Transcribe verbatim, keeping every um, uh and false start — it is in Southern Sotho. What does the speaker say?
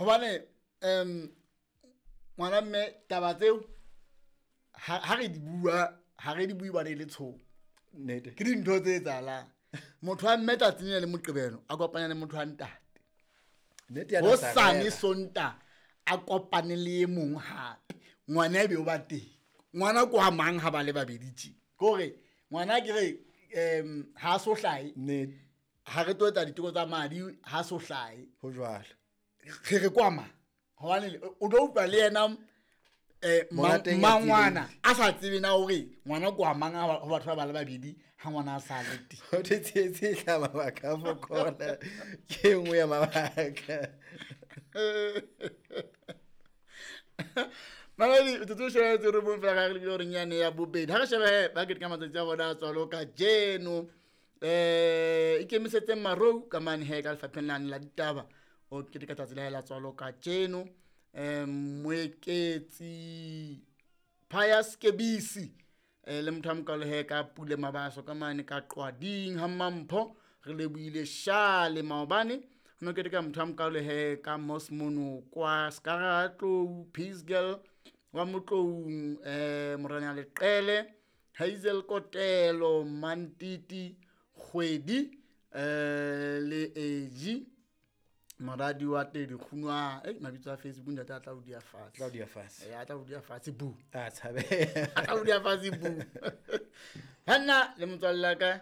Hobane um ngwana mme taba tseo ha ha re di bua ha re di bue bane le tshomo. Nnete. Ke dintho tse etsahalang. Motho wa mme tsatsing le le Moqebelo a kopanya le motho wa ntate. Nnete ya Hosane Nazareth. Sonta a kopane le e mong hape. Ngwana ebe o ba teng. Ngwana ko wa mang ha ba le babedi tje? Ke hore ngwana ke re um ha so hlahe. Nnete. Ha re tlo etsa diteko tsa madi ha so hlahe. Ho jwalo. Re re kwa mang? Hobane o tlo utlwa le yena eh Monga teng a mangwana tsebile. a sa tsebe na hore ngwana ko wa mang ha ho batho ba ba le babedi ha ngwana a sa le teng. Ho thwe tsietsi e hlaha mabaka a fokola. Ke e nngwe ya mabaka. Mamedi, metsotso e shebelletse robong fela ka re lebile horeng yane ya bobedi. Ha re shebe he, ba keteka matsatsi a bona a tswalo kajeno. Eh, ikemisetseng marou ka mane he ka lefapheng lane la ditaba. O keteka tsatsi la hae la tswalo kajeno. Eh, Moeketsi Pius Kebisi, eh, le motho a mokalo he ka Pule Mabaso ka mane ka Qwading ha Mampho. Re lebohile Shale maobane. Ho no keteka motho a mokalo he ka Mos Mono kwa Skaratlou, Peace Girl wa Motloung, eh, Morena Leqele, Hazel Kotelo, Mantiti Kgwedi, eh, le Eji moradi wa Tedi Kgunwa. Eh, mabitso a Facebook ntate a tla o dia fatshe. Tla o dia fatshe. Eh, a tla o dia fatshe bu. A tshabe. A tla o dia fatshe bu. Hanna le motswalle wa ka